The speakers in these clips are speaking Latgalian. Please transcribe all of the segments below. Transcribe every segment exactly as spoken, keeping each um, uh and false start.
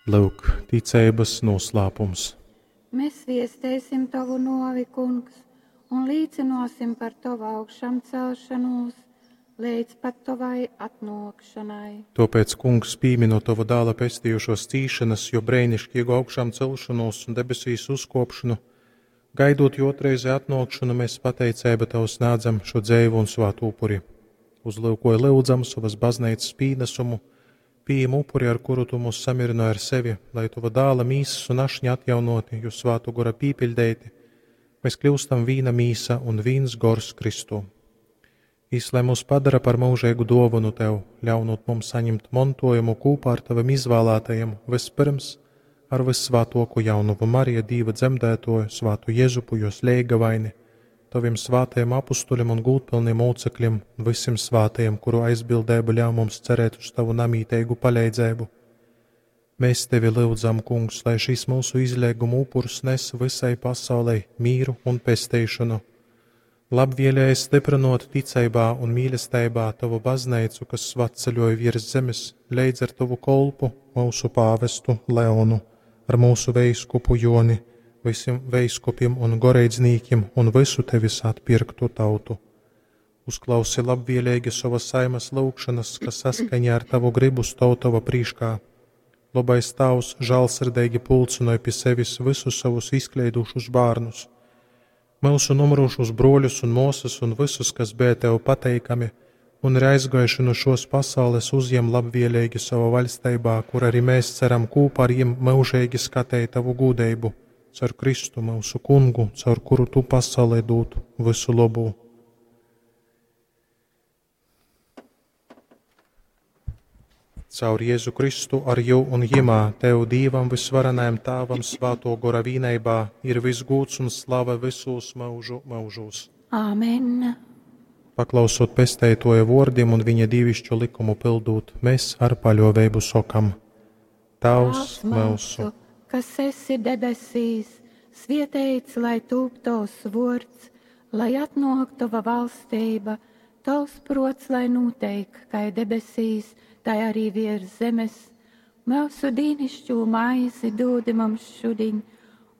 Lyuk, ticeibys nūslāpums. Mēs viesteisim Tovu nuovi, Kungs, un līcynuosim par Tovu augšamcelšonūs leidz pat Tovai atnuokšonai. Tuopēc, Kungs, pīminot Tova Dāla pestījušuos cīšanas, juo breiniškīgu augšāmcelšonūs un debesīs uzkuopšonu, gaidūt juo ūtrreizi atnuokšonu, mēs pateiceibu Tev snādzam šo dzeivu un svātu upuri. Uzlyukoj, lyudzam, sovas bazneicas pīnasumu, pījem upuri, ar kuru Tu mūs samierinoj ar sevi, lai Tova Dāla mīsas un ašņa atjaunoti, Juo Svātuo Gora pīpiļdeiti, mēs kļūstam vīna mīsa un vīns gors Kristū. Jis, lai mūs padara par mūžīgu duovanu Tev, ļaunot mums saņemt montojumu kūpā ar Tavim izvēlētajiem, vispirms ar Vyssvātuoku jaunovu Mariju, Dīva dzemdētoju, Svātu Jezupu, jos leigavaini, Tavim svātajiem apustuļiem un gūdpilniem mūcekļiem, un visiem svātajiem, kuru aizbildība ļauj mums cerēt uz Tavu namītīgu palīdzību. Mēs Tevi lyudzam, Kungs, lai šis mūsu izlieguma upurs nes visai pasaulei mīru un pestīšanu. Labvēlīgi stiprinot ticeibā un mīlestībā Tavu baznīcu, kas svatceļoja virs zemes, leidz ar Tavu kolpu, mūsu pāvestu Leonu, ar mūsu veiskupu Joni, visiem veiskupiem un goreidznīkiem un visu Tevis atpirktu tautu. Uzklausi labvēlīgi savas saimas lūgšanas, kas saskaņā ar Tavu gribu stāv Tava prīškā. Labais Tavs žālsirdīgi pulcinoj pie sevis visus savus izkleidušus bērnus, mūsu nomirušos broļus un māsas un visus, kas bija Tev pateikami un ir aizgājuši no šos pasaules, uzņem labvēlīgi savā vaļstībā, kur arī mēs ceram kopā ar viņiem mūžīgi skatīt Tavu gūdību, caur Kristu mūsu kungu, caur kuru Tu pasaulē dod visu labu. Caur Jēzu Kristu ar jū un jimā, Tev Dīvam visvarenajam Tāvam svāto gora vīneibā ir viss gūds un slava visūs mūžu mūžūs. Āmen! Paklausot pesteitoja vōrdim un viņa dīvišķo likumu pildūt, mēs ar paļōveibu sokam: Tavs myusu, kas esi debesīs, svieteits lai tūp Tovs vords, lai atnok Tova valstība, Tovs prots lai nūteik, kai debesīs, tai arī virs zemes. Mūsu dīnišķū maizi dūdi mums šudiņ,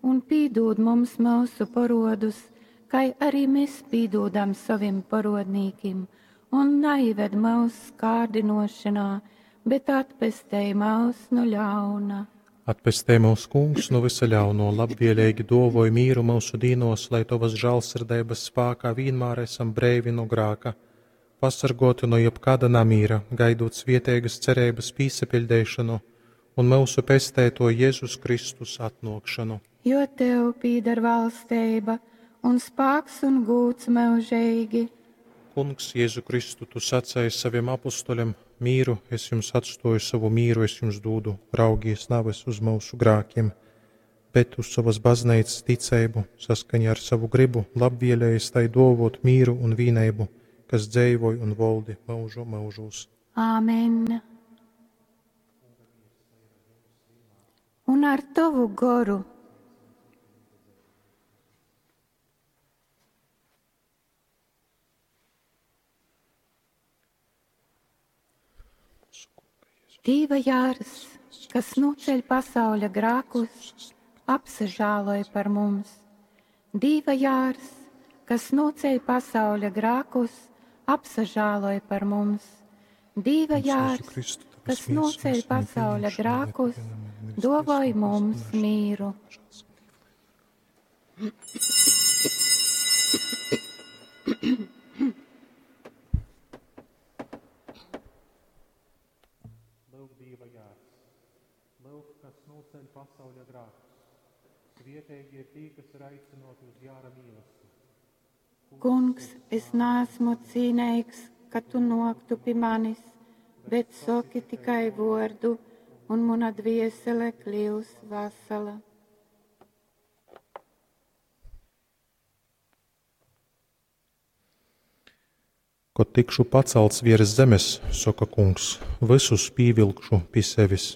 un pīdūd mums mūsu porodus, kai arī mēs pīdūdam savim porodnīkim, un naived mūs kārdinošanā, bet atpestej mūs no ļauna. Atpestej mūs, Kungs, no visa ļauno, labvēlīgi dovoj mīru mūsu dīnos, lai Tavas žālsirdības spākā vienmēr esam breivi no grāka, pasargoti no jebkāda namīra, gaidot svieteigas cerības pīsapiļdeišanu un mūsu pestēto Jēzus Kristus atnokšanu. Jo Tev pīdar valstība un spāks un gūts mūžīgi. Kungs, Jēzu Kristu, Tu sacēji saviem apustuļiem: mīru es jums atstoju, savu mīru es jums dūdu, raugies navis uz mūsu grākiem, bet uz savas baznīcas ticību, saskaņā ar savu gribu, labvēlējies tai dovot mīru un vīneibu, kas dzēvoj un voldi mūžu mūžūs. Āmen! Un ar Tavu goru. Dīva jārs, kas noceļ pasauļa grākus, apsažāloj par mums. Dīva jārs, kas noceļ pasauļa grākus, apsažāloj par mums. Dīva jārs, kas noceļ pasauļa grākus, dovoj mums mīru. Lūk, Dīva jārs, lūk, kas noceļ pasauļa grākus. Svietīgi ir tī, kas ir aicinoti uz jāra mīlestību. Kungs, es neesmu cīnīgs, ka tu noktu pie manis, bet soki tikai vordu, un mana dviesele kļūs vesela. Kod tikšu pacelts virs zemes, soka Kungs, visus pīvilkšu pie sevis.